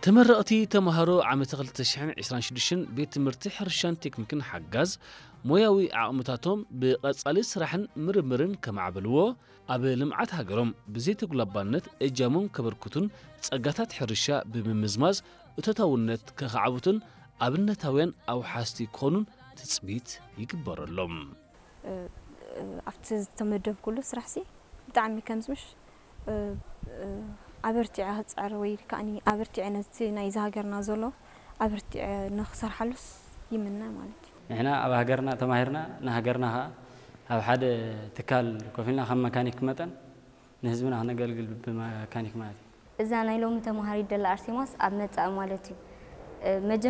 ተመረቕቲ ተምሃሮ ዓመት ክልተ ሽሕን ዕስራን ሽዱሽተን ቤት ትምህርቲ ሕርሻን ቴክኒክን ሓጋዝ ሞያዊ ዓቕምታቶም ብቐጻሊ ስራሕን ምርምርን ከማዕብልዎ፣ ኣብ ልምዓት ሃገሮም ብዘይተጉላባነት እጃሞም ከበርክቱን ጸጋታት ሕርሻ ብምምዝማዝ እቶታውነት ከኻዕብቱን ኣብነታውያን ኣውሓስቲ ክኾኑን ትጽቢት ይግበረሎም። ኣብቲ ዝተመደብኩሉ ስራሕሲ ብጣዕሚ ከምዝምሽ ኣበርቲዐ ክፅዕር ወይ ከዓኒ ኣበርቲዐ ነቲ ናይዚ ሃገርና ዘሎ ኣበርቲዐ ንክሰርሓሉስ ይምነ ማለት እዩ። ንሕና ኣብ ሃገርና ተማሂርና ንሃገርና ከዓ ኣብ ሓደ ትካል ኮፍ ኢልና ከም መካኒክ መጠን ንህዝብና ክነገልግል ብመካኒክ ማለት እዩ። እዛ ናይ ሎሚ ተምሃሪት ደላ ኣርሴማስ ኣብ መጻኢ ማለት እዩ።